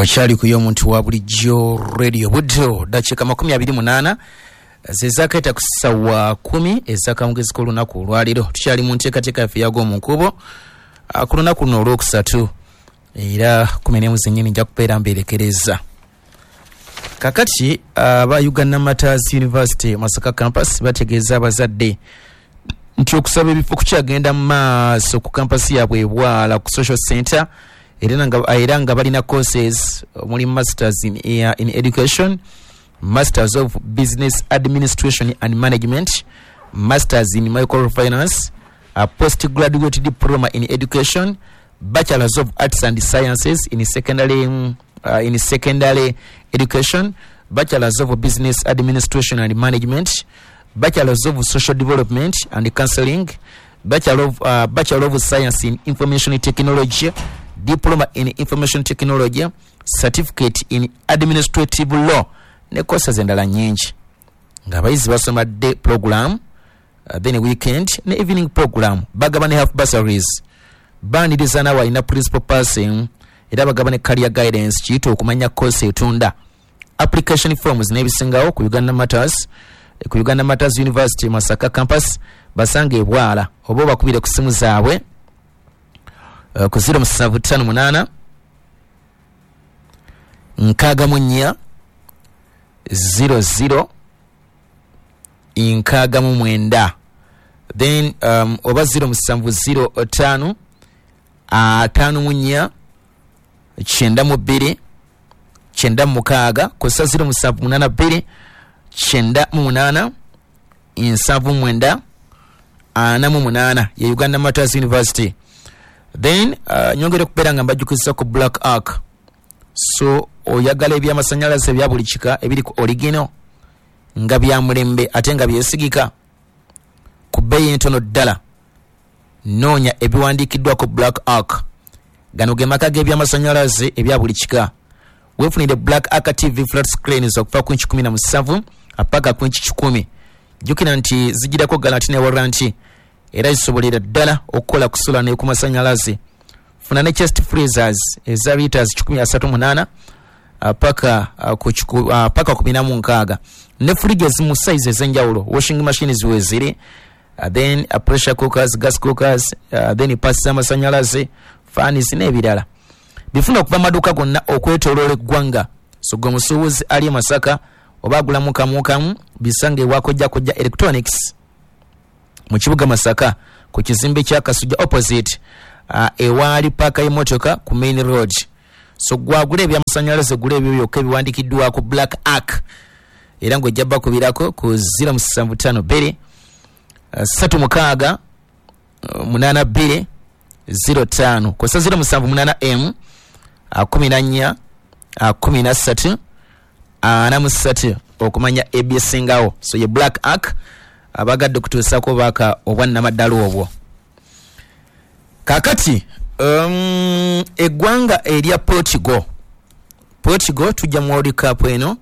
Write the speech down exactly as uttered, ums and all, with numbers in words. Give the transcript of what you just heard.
Okyali ku y'omuntu wa bulijjo Radio. Buddo dakiika makumi abiri munaana zezakaita ku ssaawa kumi ez'akawungeezi k'olunaku olwaleero. Tukyali mu nteekateeka yaffe eyagwo mu nkubo ah, ku lunaku luno olwokusatu, era kumi n'emu zennyini nja kubeera mbeerekereza. Kakati aba Uganda Martyrs University Masaka Campus bategeeza abazadde nti okusaba ebifo kukyagenda mu maaso ku kampasi yaabwe ebwala ku social center, era nga, era nga balina courses omuli masters in, uh, in education, masters of business administration and management, masters in microfinance, a postgraduate diploma in education, bachelors of arts and sciences in secondary, uh, in secondary education, bachelors of business administration and management, bachelors of social development and counseling, bachelor of, uh, bachelor of science in information technology, diploma in information technology, certificate in administrative law ne courses endala nyingi, ng'abayizi basoma day program, uh, then weekend ne evening program. Bagaba ne half bursaries, baaniriza naawe alina principal passing, era bagaba ne career guidance, kiyita okumanya course etunda. Application forms n'ebisingawo ku Uganda Martyrs ku Uganda Martyrs University Masaka Campus, basanga ebwala oba obakubire ku simu zaabwe uh, ku zero seven five eight six four zero zero six nine, then um, oba zero seven zero five five four nine two ninety-six, kusa zero seven eight two ninety-eight seventy-nine forty-eight ye Uganda Martyrs University. Then uh, nyongere okubeera nga mbajjukiza ku Black Ark. So oyagala ebyamasanyalaze ebya buli kika ebiri ku original, nga bya mulembe ate nga byesigika ku bbeeyi entono ddala, noonya ebiwandiikiddwako Black Ark. Gano ge maka g'ebyamasanyalaze ebya buli kika. Weefunire Black Ark T V flat screens okuva ku inchi kumi na musanvu paka ku inchi kikumi. Jjukira nti zigirako guarantee ne warranty, era zisobolera ddala okukola ku solar ne ku masanyalaze. Funa ne chest freezers eza liters kikumi asatu mu munaana paka uh, ku kiku- uh, paka ku bina mu nkaaga, ne fridges mu size ez'enjawulo. Washing machines weziri, uh, then uh, pressure cookers, gas cookers, uh, then pasi z'amasanyalaze, fans n'ebirala. Bifuna okuva mu maduuka gonna okwetooloola eggwanga. So gwe musuubuzi ali e Masaka oba agulamu kamu kamu, bisange ewa Kojja Kojja Electronics mu kibuga Masaka ku kizimbe kya Kasujja, opposite uh, ewaali paaka y'emmotoka ku main road. So gwagula ebyamasanyalaze, gula ebyo byokka ebiwandikiddwako Black Ark, era ng'ojja bakubirako ku zero seven five two three six eight two zero five, kosa zero seven eight m fourteen thirteen forty-three okumanya ebyesingawo. So ye Black Ark abagadde okutuusaako baaka obwannamaddala obwo. Kakati um, eggwanga erya Portugal, Portugal tujja mu World Cup eno.